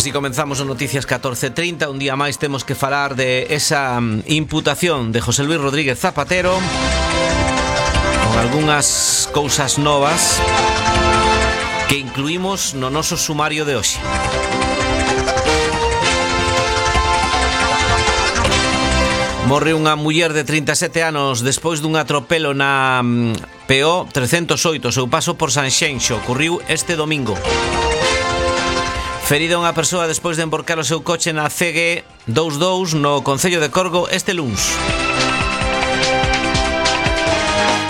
Así comenzamos o Noticias 14:30. Un día máis temos que falar de esa imputación de José Luis Rodríguez Zapatero con algunhas cousas novas que incluímos no noso sumario de hoxe. Morre unha muller de 37 anos despois dun atropelo na PO 308, seu paso por Sanxenxo. Ocorriu este domingo. Ferida unha persoa despois de emborcar o seu coche na CG 22 no Concello de Corgo este luns.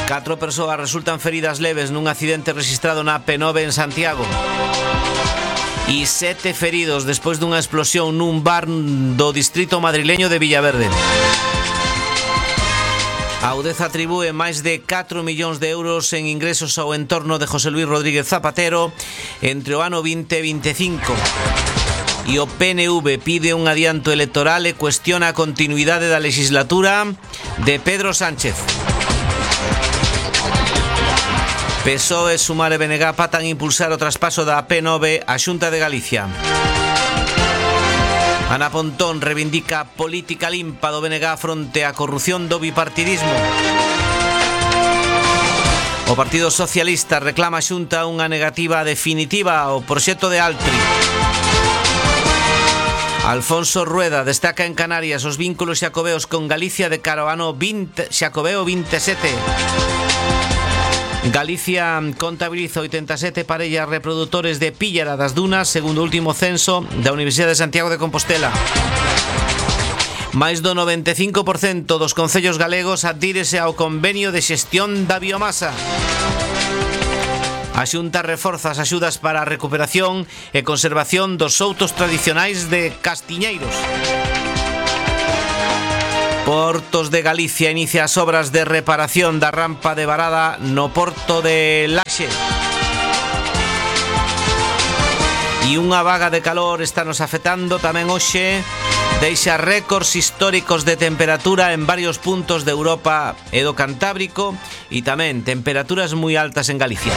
4 persoas resultan feridas leves nun accidente rexistrado na P9 en Santiago. E 7 feridos despois dunha explosión nun bar do distrito madrileño de Villaverde. A UDEF atribúe máis de 4 millóns de euros en ingresos ao entorno de José Luis Rodríguez Zapatero entre o ano 20 e 25. E o PNV pide un adianto electoral e cuestiona a continuidade da legislatura de Pedro Sánchez. PSOE, Sumar e BNG patan impulsar o traspaso da P9 á Xunta de Galicia. Ana Pontón reivindica política limpa do BNG fronte á corrupción do bipartidismo. O Partido Socialista reclama a Xunta unha negativa definitiva ao proxecto de Altri. Alfonso Rueda destaca en Canarias os vínculos xacobeos con Galicia de cara ao ano Xacobeo 27. Galicia contabiliza 87 parellas reprodutores de píllara das dunas segundo o último censo da Universidade de Santiago de Compostela. Máis do 95% dos concellos galegos adhírese ao convenio de xestión da biomasa. A Xunta reforza as axudas para a recuperación e conservación dos soutos tradicionais de Castiñeiros. Portos de Galicia inicia as obras de reparación da rampa de varada no porto de Laxe. E unha vaga de calor está nos afectando tamén hoxe. Deixa récords históricos de temperatura en varios puntos de Europa e do Cantábrico e tamén temperaturas moi altas en Galicia.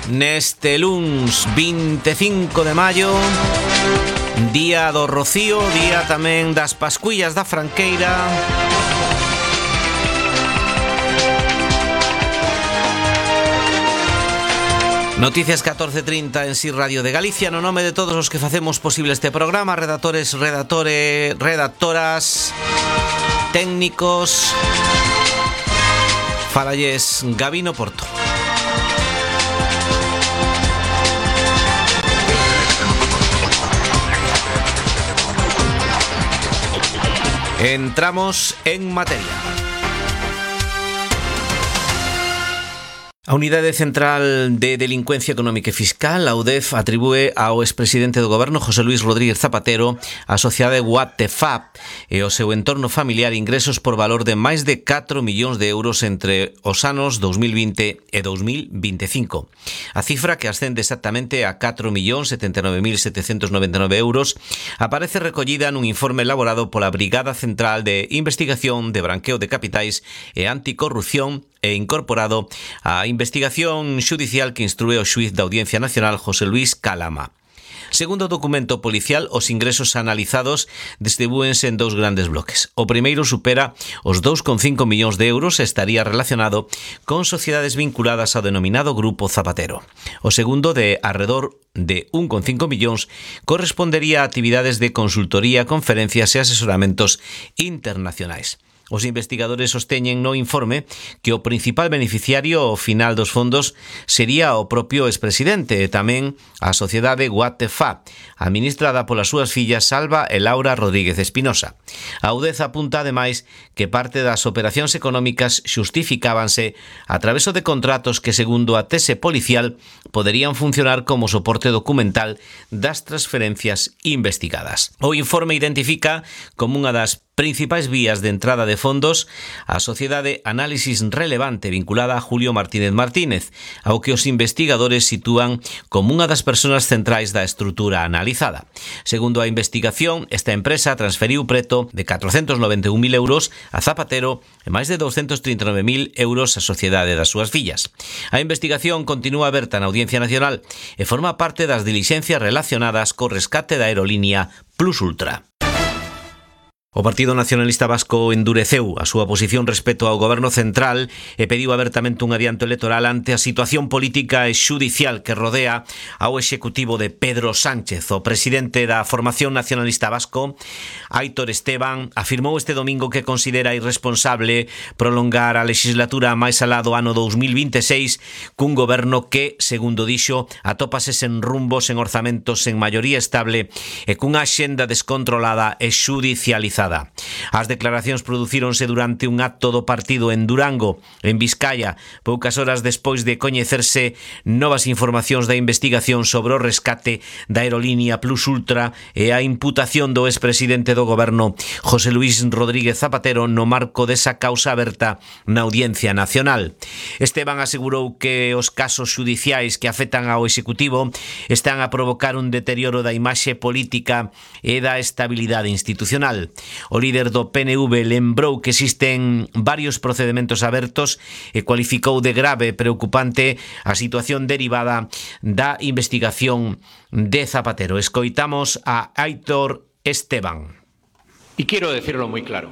Neste luns 25 de maio, día do Rocío, día tamén das Pascuillas da Franqueira. Noticias 14:30 en Si Radio de Galicia. No nome de todos os que facemos posible este programa, redactores, redactoras, técnicos, falalles Gabino Porto. Entramos en materia. A Unidade Central de Delincuencia Económica e Fiscal, a UDEF, atribúe ao expresidente do Goberno, José Luis Rodríguez Zapatero, a sociedade Guatefap e o seu entorno familiar ingresos por valor de máis de 4 millóns de euros entre os anos 2020 e 2025. A cifra, que ascende exactamente a 4.079.799 euros, aparece recollida nun informe elaborado pola Brigada Central de Investigación de Branqueo de Capitais e Anticorrupción e incorporado á investigación xudicial que instrúe o xuíz da Audiencia Nacional José Luis Calama. Segundo o documento policial, os ingresos analizados distribúense en dous grandes bloques. O primeiro supera os 2,5 millóns de euros e estaría relacionado con sociedades vinculadas ao denominado Grupo Zapatero. O segundo, de arredor de 1,5 millóns, correspondería a actividades de consultoría, conferencias e asesoramentos internacionais. Os investigadores sosteñen no informe que o principal beneficiario ao final dos fondos sería o propio expresidente e tamén a sociedade Guatefap, administrada polas súas fillas Salva e Laura Rodríguez Espinosa. A UDEF apunta ademais que parte das operacións económicas xustificábanse a traveso de contratos que, segundo a tese policial, poderían funcionar como soporte documental das transferencias investigadas. O informe identifica como unha das principais vías de entrada de fondos a sociedade Análisis Relevante vinculada a Julio Martínez Martínez, ao que os investigadores sitúan como unha das persoas centrais da estrutura analizada. Segundo a investigación, esta empresa transferiu preto de 491.000 euros a Zapatero e máis de 239.000 euros á sociedade das súas fillas. A investigación continúa aberta na Audiencia Nacional e forma parte das dilixencias relacionadas co rescate da aerolínea Plus Ultra. O Partido Nacionalista Vasco endureceu a súa posición respecto ao Goberno Central e pediu abertamente un adianto electoral ante a situación política e xudicial que rodea ao executivo de Pedro Sánchez. O presidente da Formación Nacionalista Vasco, Aitor Esteban, afirmou este domingo que considera irresponsable prolongar a legislatura máis alá do ano 2026 cun goberno que, segundo dixo, atópase sen rumbo, sen orzamentos, sen maioría estable e cunha axenda descontrolada e xudicializada. As declaracións producíronse durante un acto do partido en Durango, en Vizcaya, poucas horas despois de coñecerse novas informacións da investigación sobre o rescate da aerolínea Plus Ultra e a imputación do expresidente do goberno José Luis Rodríguez Zapatero no marco desa causa aberta na Audiencia Nacional. Esteban asegurou que os casos xudiciais que afectan ao Executivo están a provocar un deterioro da imaxe política e da estabilidade institucional. O líder do PNV lembrou que existen varios procedementos abertos e cualificou de grave e preocupante a situación derivada da investigación de Zapatero. Escoitamos a Aitor Esteban. Y quiero decirlo muy claro.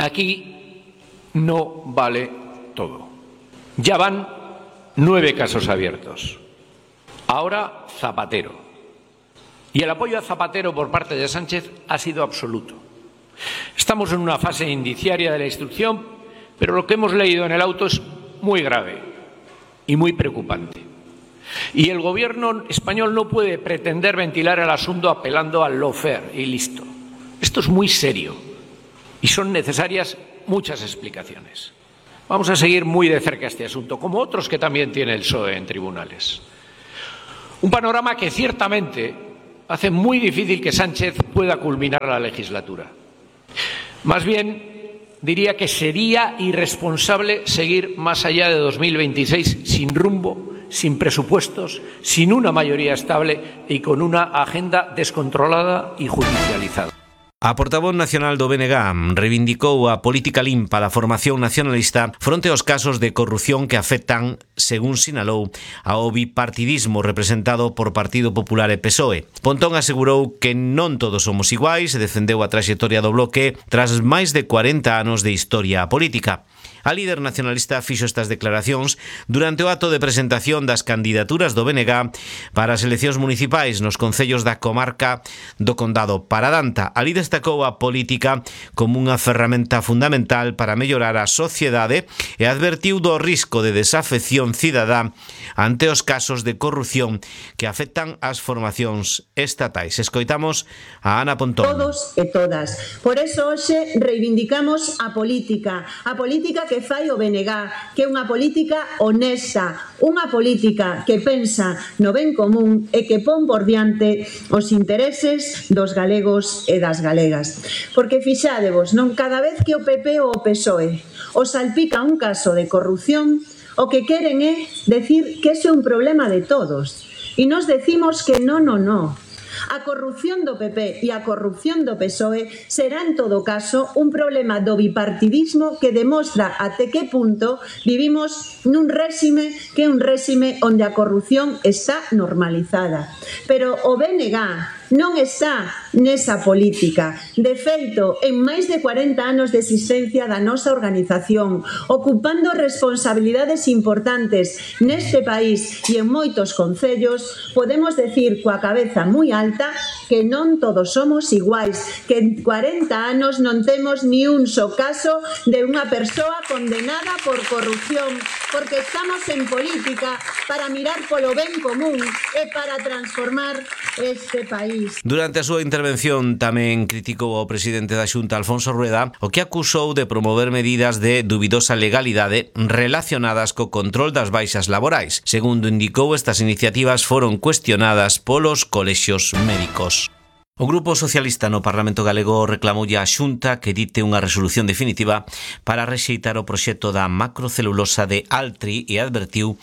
Aquí no vale todo. Ya van 9 casos abiertos. Ahora Zapatero. Y el apoyo a Zapatero por parte de Sánchez ha sido absoluto. Estamos en una fase indiciaria de la instrucción, pero lo que hemos leído en el auto es muy grave y muy preocupante. Y el gobierno español no puede pretender ventilar el asunto apelando al lawfare y listo. Esto es muy serio y son necesarias muchas explicaciones. Vamos a seguir muy de cerca este asunto, como otros que también tiene el PSOE en tribunales. Un panorama que ciertamente hace muy difícil que Sánchez pueda culminar la legislatura. Más bien, diría que sería irresponsable seguir más allá de 2026 sin rumbo, sin presupuestos, sin una mayoría estable y con una agenda descontrolada y judicializada. A portavoz nacional do BNG reivindicou a política limpa da formación nacionalista fronte aos casos de corrupción que afectan, según sinalou, ao bipartidismo representado por Partido Popular e PSOE. Pontón asegurou que non todos somos iguais e defendeu a traxectoria do bloque tras máis de 40 anos de historia política. A líder nacionalista fixo estas declaracións durante o acto de presentación das candidaturas do BNG para as eleccións municipais nos concellos da comarca do Condado Paradanta. Ali destacou a política como unha ferramenta fundamental para mellorar a sociedade e advertiu do risco de desafección cidadá ante os casos de corrupción que afectan as formacións estatais. Escoitamos a Ana Pontón. Todos e todas. Por eso hoxe reivindicamos a política que fai o BNG, que é unha política honesta, unha política que pensa no ben común e que pon por diante os intereses dos galegos e das galegas. Porque fixádevos, non cada vez que o PP ou o PSOE os salpica un caso de corrupción, o que queren é decir que ese é un problema de todos. E nos decimos que non. A corrupción do PP e a corrupción do PSOE será en todo caso un problema do bipartidismo que demostra até que punto vivimos nun réxime que é un réxime onde a corrupción está normalizada. Pero o BNG non está nesa política. De feito, en máis de 40 anos de existencia da nosa organización, ocupando responsabilidades importantes neste país e en moitos concellos, podemos decir coa cabeza moi alta que non todos somos iguais, que en 40 anos non temos ni un só caso de unha persoa condenada por corrupción, porque estamos en política para mirar polo ben común e para transformar este país. Durante a súa intervención tamén criticou ao presidente da Xunta, Alfonso Rueda, o que acusou de promover medidas de dubidosa legalidade relacionadas co control das baixas laborais. Segundo indicou, estas iniciativas foron cuestionadas polos colexios médicos. O Grupo Socialista no Parlamento Galego reclamoulle á Xunta que dite unha resolución definitiva para rexeitar o proxecto da macrocelulosa de Altri e advertiu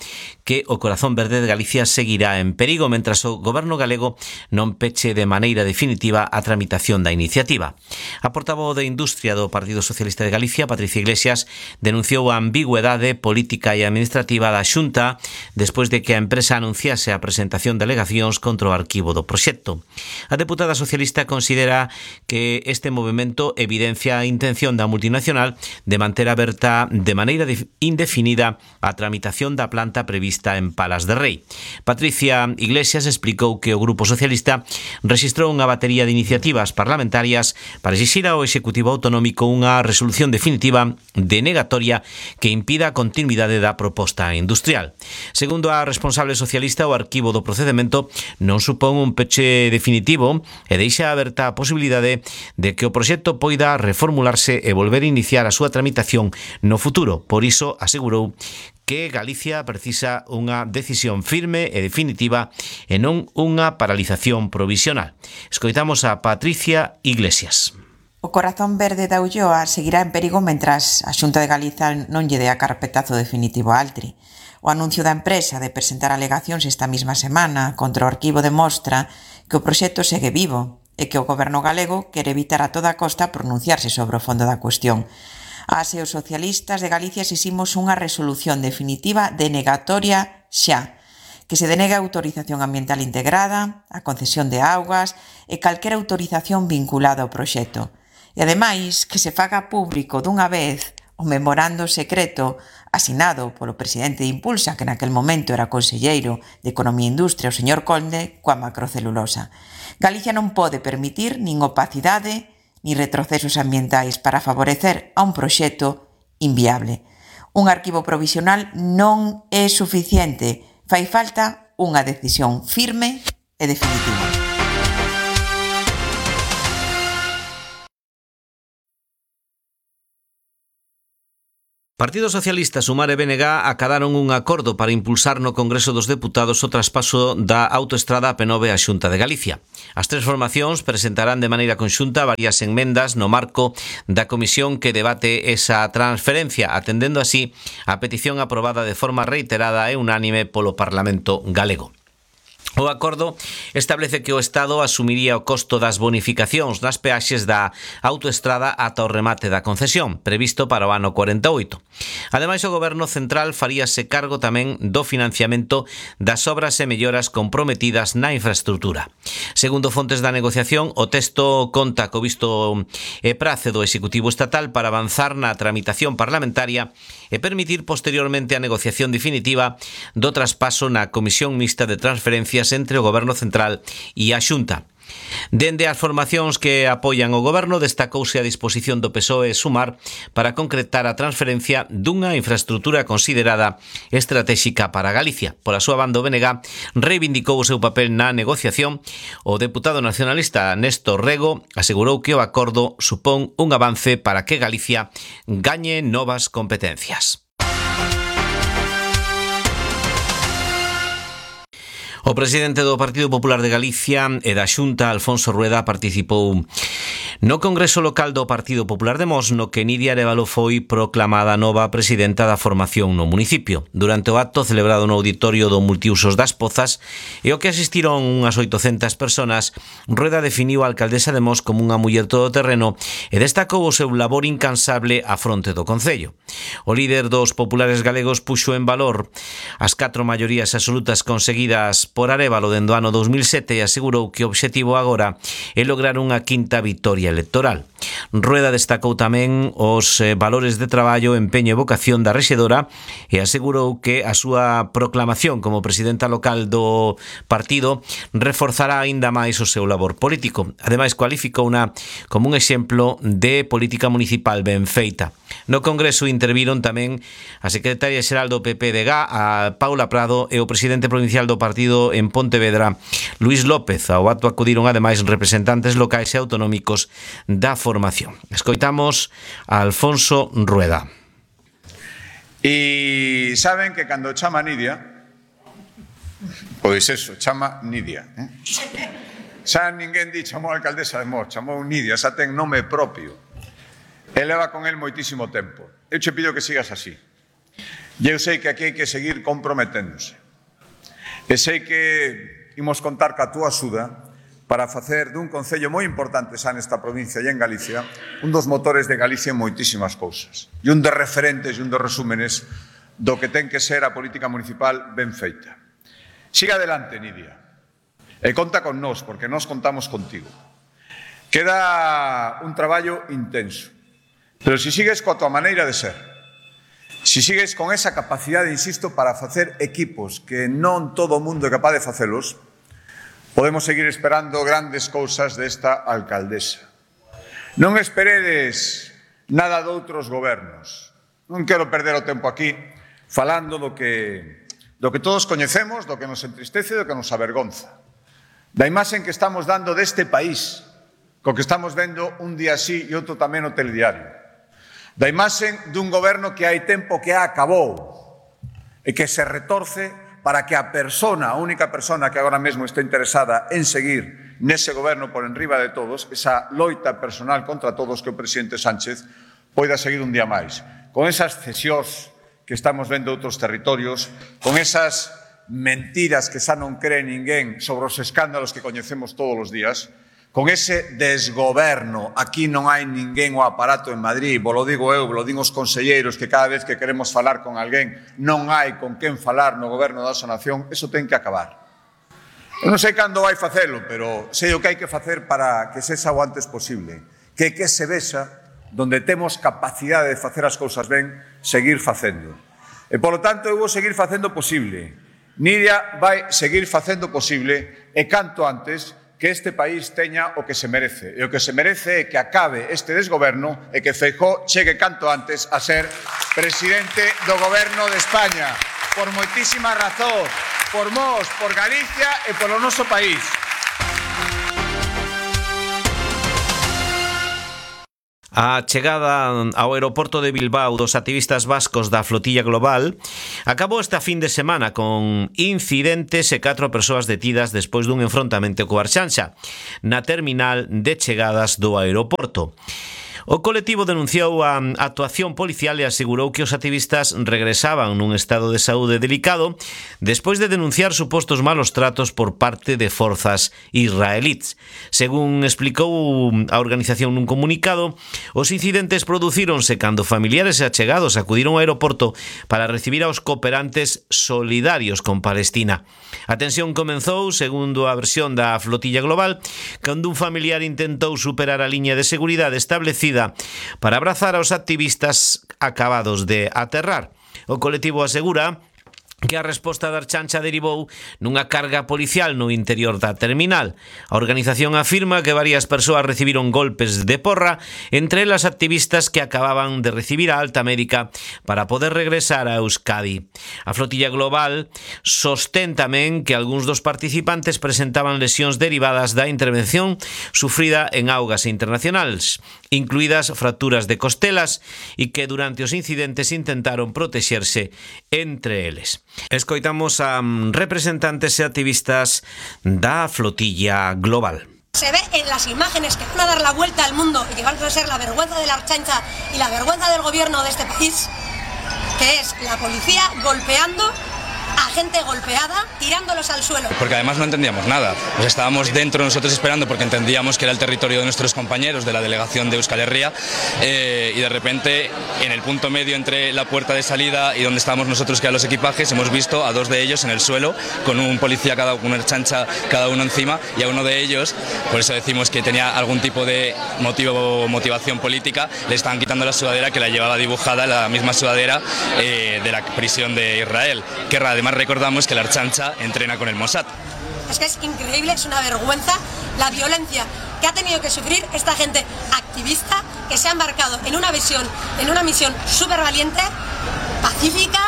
que o corazón verde de Galicia seguirá en perigo mentras o Goberno galego non peche de maneira definitiva a tramitación da iniciativa. A portavoz de Industria do Partido Socialista de Galicia, Patricia Iglesias, denunciou a ambigüedade política e administrativa da Xunta despois de que a empresa anunciase a presentación de alegacións contra o arquivo do proxecto. A deputada socialista considera que este movimento evidencia a intención da multinacional de manter aberta de maneira indefinida a tramitación da planta prevista en Palas de Rei. Patricia Iglesias explicou que o Grupo Socialista rexistrou unha batería de iniciativas parlamentarias para exixir ao Executivo Autonómico unha resolución definitiva denegatoria que impida a continuidade da proposta industrial. Segundo a responsable socialista, o arquivo do procedemento non supón un peche definitivo e deixa aberta a posibilidade de que o proxecto poida reformularse e volver a iniciar a súa tramitación no futuro. Por iso, asegurou que Galicia precisa unha decisión firme e definitiva e non unha paralización provisional. Escoitamos a Patricia Iglesias. O corazón verde da Ulloa seguirá en perigo mentras a Xunta de Galiza non lle dé a carpetazo definitivo a Altri. O anuncio da empresa de presentar alegacións esta mesma semana contra o arquivo demostra que o proxecto segue vivo e que o Goberno galego quere evitar a toda costa pronunciarse sobre o fondo da cuestión. As e os socialistas de Galicia exiximos unha resolución definitiva denegatoria xa, que se denegue a autorización ambiental integrada, a concesión de augas e calquera autorización vinculada ao proxecto. E ademais que se faga público dunha vez o memorando secreto asinado polo presidente de Impulsa, que naquel momento era conselleiro de Economía e Industria, o señor Conde, coa macrocelulosa. Galicia non pode permitir nin opacidade ni retrocesos ambientais para favorecer a un proxecto inviable. Un arquivo provisional non é suficiente, fai falta unha decisión firme e definitiva. Partido Socialista, Sumar e BNG acadaron un acordo para impulsar no Congreso dos Deputados o traspaso da autoestrada AP9 á Xunta de Galicia. As tres formacións presentarán de maneira conxunta varias enmendas no marco da comisión que debate esa transferencia, atendendo así a petición aprobada de forma reiterada e unánime polo Parlamento galego. O acordo establece que o Estado asumiría o costo das bonificacións nas peaxes da autoestrada ata o remate da concesión, previsto para o ano 48. Ademais, o Goberno Central faríase cargo tamén do financiamento das obras e melloras comprometidas na infraestrutura. Segundo fontes da negociación, o texto conta co visto e prace do Executivo Estatal para avanzar na tramitación parlamentaria e permitir posteriormente a negociación definitiva do traspaso na Comisión Mixta de Transferencias entre o Goberno Central e a Xunta. Dende as formacións que apoian o Goberno, destacouse a disposición do PSOE e Sumar para concretar a transferencia dunha infraestructura considerada estratéxica para Galicia. Pola súa banda, o BNG reivindicou o seu papel na negociación. O deputado nacionalista Néstor Rego asegurou que o acordo supón un avance para que Galicia gañe novas competencias. O presidente do Partido Popular de Galicia e da Xunta, Alfonso Rueda, participou no Congreso Local do Partido Popular de Mos, no que Nidia Arévalo foi proclamada nova presidenta da formación no municipio. Durante o acto celebrado no auditorio do Multiusos das Pozas e o que asistiron unhas 800 personas, Rueda definiu a alcaldesa de Mos como unha muller todoterreno e destacou o seu labor incansable á fronte do concello. O líder dos populares galegos puxo en valor as 4 maiorías absolutas conseguidas por Arévalo dende o ano 2007 e asegurou que o obxectivo agora é lograr unha quinta vitoria electoral. Rueda destacou tamén os valores de traballo, empeño e vocación da rexedora e asegurou que a súa proclamación como presidenta local do partido reforzará aínda máis o seu labor político. Ademais, cualificouna como un exemplo de política municipal ben feita. No Congreso interviron tamén a secretaria xeral do PP de GA, a Paula Prado, e o presidente provincial do partido en Pontevedra, Luís López. Ao acto acudiron ademais representantes locais e autonómicos da formación. Escoitamos a Alfonso Rueda. E saben que cando chama Nidia, pois eso, chama Nidia. xa ninguén chamou a alcaldesa de Mos, chamou Nidia, xa ten nome propio. E leva con el moitísimo tempo. Eu che pido que sigas así. E eu sei que aquí hai que seguir comprometéndose. E sei que imos contar ca túa axuda para facer dun concello moi importante xa nesta provincia e en Galicia un dos motores de Galicia en moitísimas cousas e un dos referentes e un dos resúmenes do que ten que ser a política municipal ben feita. Siga adelante, Nidia, e conta con nós, porque nós contamos contigo. Queda un traballo intenso, pero se sigues coa tua maneira de ser, se sigues con esa capacidade, insisto, para facer equipos que non todo o mundo é capaz de facelos, podemos seguir esperando grandes cousas desta alcaldesa. Non esperedes nada de outros gobernos. Non quero perder o tempo aquí falando do que todos coñecemos, do que nos entristece e do que nos avergonza. Da imaxe que estamos dando deste país, co que estamos vendo un día así e outro tamén no telediario. Da imaxe dun goberno que hai tempo que acabou e que se retorce para que a única persona que agora mesmo está interesada en seguir nese goberno por enriba de todos, esa loita personal contra todos que o presidente Sánchez poida seguir un día máis. Con esas cesións que estamos vendo outros territorios, con esas mentiras que xa non cree ninguén sobre os escándalos que coñecemos todos os días, con ese desgoberno, aquí non hai ninguén o aparato en Madrid, vos lo digo eu, vos lo digo os conselleiros, que cada vez que queremos falar con alguén non hai con quen falar no goberno da nosa nación, eso ten que acabar. Eu non sei cando vai facelo, pero sei o que hai que facer para que sexa o antes posible, que se vexa donde temos capacidade de facer as cousas ben, seguir facendo. E, polo tanto, eu vou seguir facendo posible. Nidia vai seguir facendo posible e canto antes que este país teña o que se merece. E o que se merece é que acabe este desgoberno e que Feijóo chegue canto antes a ser presidente do goberno de España. Por moitísimas razóns, por Mos, por Galicia e polo noso país. A chegada ao aeroporto de Bilbao dos activistas vascos da Flotilla Global acabou esta fin de semana con incidentes e 4 persoas detidas despois dun enfrontamento co Arxanxa na terminal de chegadas do aeroporto. O colectivo denunciou a actuación policial e asegurou que os activistas regresaban nun estado de saúde delicado despois de denunciar supostos malos tratos por parte de forzas israelíes. Según explicou a organización nun comunicado, os incidentes producíronse cando familiares e achegados acudiron ao aeroporto para recibir aos cooperantes solidarios con Palestina. A tensión comenzou, segundo a versión da Flotilla Global, cando un familiar intentou superar a liña de seguridade establecida para abrazar aos activistas acabados de aterrar. O colectivo asegura que a resposta da Arxanxa derivou nunha carga policial no interior da terminal. A organización afirma que varias persoas recibiron golpes de porra, entre elas activistas que acababan de recibir a alta médica para poder regresar a Euskadi. A Flotilla Global sostén tamén que algúns dos participantes presentaban lesións derivadas da intervención sufrida en augas internacionais, incluídas fracturas de costelas, e que durante os incidentes intentaron protexerse entre eles. Escoitamos a representantes e activistas da Flotilla Global. Se ve en las imágenes que van a dar la vuelta al mundo y que van a ser la vergüenza de la Arxanxa y la vergüenza del gobierno de este país, que es la policía golpeando a gente golpeada, tirándolos al suelo. Porque además no entendíamos nada. Pues estábamos dentro nosotros esperando porque entendíamos que era el territorio de nuestros compañeros de la delegación de Euskal Herria y de repente en el punto medio entre la puerta de salida y donde estábamos nosotros que eran los equipajes hemos visto a 2 de ellos en el suelo con un policía con una Arxanxa cada uno encima y a uno de ellos, por eso decimos que tenía algún tipo de motivación política, le estaban quitando la sudadera que la llevaba dibujada, la misma sudadera de la prisión de Israel, que además recordamos que la Arxanxa entrena con el Mossad. Es que es increíble, es una vergüenza la violencia que ha tenido que sufrir esta gente activista que se ha embarcado en una misión súper valiente, pacífica,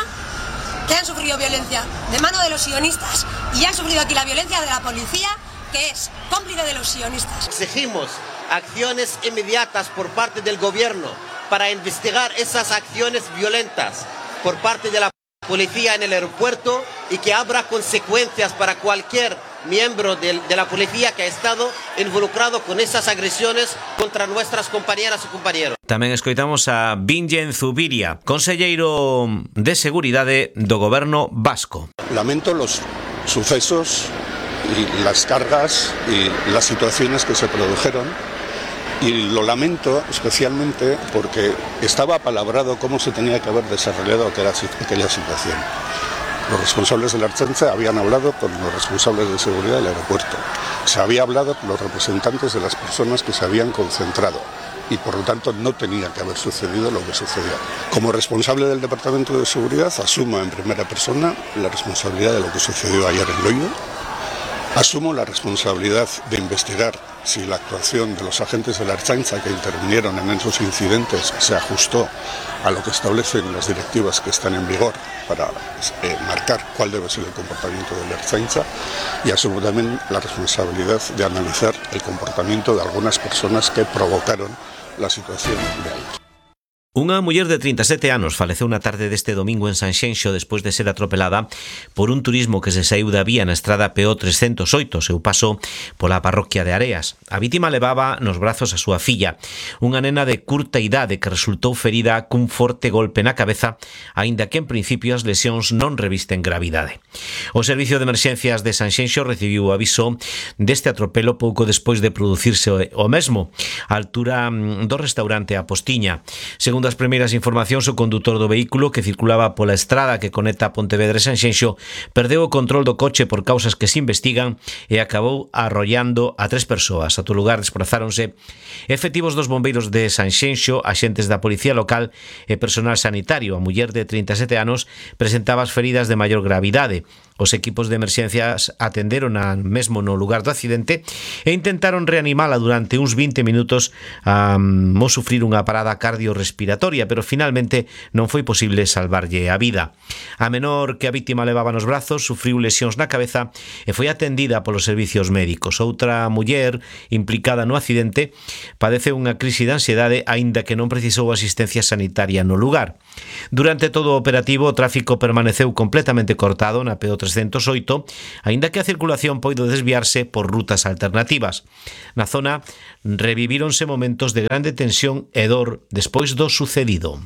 que han sufrido violencia de mano de los sionistas y han sufrido aquí la violencia de la policía, que es cómplice de los sionistas. Exigimos acciones inmediatas por parte del gobierno para investigar esas acciones violentas por parte de la policía en el aeropuerto y que habrá consecuencias para cualquier miembro de la policía que ha estado involucrado con esas agresiones contra nuestras compañeras y compañeros. Tamén escoitamos a Vingen Zubiria, conselleiro de Seguridade do Goberno vasco. Lamento los sucesos y las cargas y las situaciones que se produjeron, y lo lamento especialmente porque estaba apalabrado cómo se tenía que haber desarrollado aquella situación. Los responsables de la Ertzaintza habían hablado con los responsables de seguridad del aeropuerto. Se había hablado con los representantes de las personas que se habían concentrado y por lo tanto no tenía que haber sucedido lo que sucedió. Como responsable del Departamento de Seguridad asumo en primera persona la responsabilidad de lo que sucedió ayer en Loiu. Asumo la responsabilidad de investigar si la actuación de los agentes de la Ertzaintza que intervinieron en esos incidentes se ajustó a lo que establecen las directivas que están en vigor para marcar cuál debe ser el comportamiento de la Ertzaintza, y asumo también la responsabilidad de analizar el comportamiento de algunas personas que provocaron la situación de ahí. Unha muller de 37 anos faleceu na tarde deste domingo en Sanxenxo despois de ser atropelada por un turismo que se saíu da vía na estrada PO 308, seu paso pola parroquia de Areas. A vítima levaba nos brazos a súa filla, unha nena de curta idade que resultou ferida cun forte golpe na cabeza, aínda que en principio as lesións non revisten gravidade. O Servicio de Emerxencias de Sanxenxo recibiu o aviso deste atropelo pouco despois de producirse o mesmo, á altura do restaurante A Postiña. Segundo as primeiras informacións, o condutor do vehículo que circulaba pola estrada que conecta Pontevedra e Sanxenxo perdeu o control do coche por causas que se investigan e acabou arrollando a 3 persoas. A todo lugar desprazáronse efectivos dos bombeiros de Sanxenxo, axentes da policía local e personal sanitario. A muller de 37 anos presentaba as feridas de maior gravidade. Os equipos de emerxencias atenderon mesmo no lugar do accidente e intentaron reanimala durante uns 20 minutos a sufrir unha parada cardiorrespiratoria, pero finalmente non foi posible salvarlle a vida. A menor que a vítima levaba nos brazos sufriu lesións na cabeza e foi atendida polos servicios médicos. Outra muller implicada no accidente padeceu unha crise de ansiedade aínda que non precisou asistencia sanitaria no lugar. Durante todo o operativo o tráfico permaneceu completamente cortado na PO 308, aínda que a circulación poido desviarse por rutas alternativas. Na zona revivíronse momentos de grande tensión e dor despois do sucedido.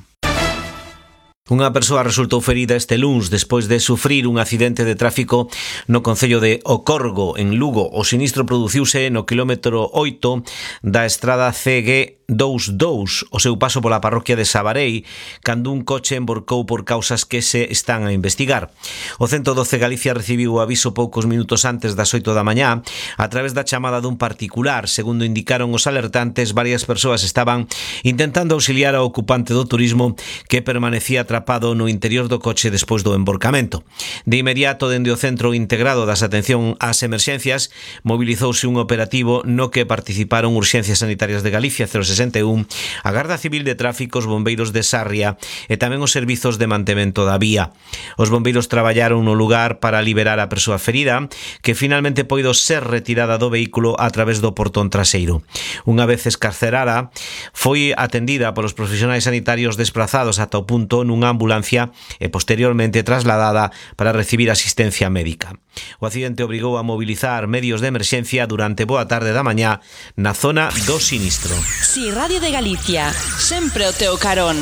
Unha persoa resultou ferida este luns despois de sufrir un accidente de tráfico no concello de Ocorgo, en Lugo. O sinistro produciuse no quilómetro 8 da estrada CG22, o seu paso pola parroquia de Sabarei, cando un coche emborcou por causas que se están a investigar. O 112 Galicia recibiu o aviso poucos minutos antes das 8 da mañá a través da chamada dun particular. Segundo indicaron os alertantes, varias persoas estaban intentando auxiliar ao ocupante do turismo que permanecía atrapado no interior do coche despois do emborcamento. De inmediato, dende o Centro Integrado das Atención ás Emerxencias, mobilizouse un operativo no que participaron Urxencias Sanitarias de Galicia 061, a Garda Civil de Tráfico, os bombeiros de Sarria e tamén os servizos de mantemento da vía. Os bombeiros traballaron no lugar para liberar a persoa ferida, que finalmente poido ser retirada do vehículo a través do portón traseiro. Unha vez escarcerada, foi atendida polos profesionais sanitarios desprazados ata o punto nunha ambulancia e posteriormente trasladada para recibir asistencia médica. O accidente obrigou a mobilizar medios de emerxencia durante boa tarde da mañá na zona do sinistro. Si Radio de Galicia, sempre o teu carón.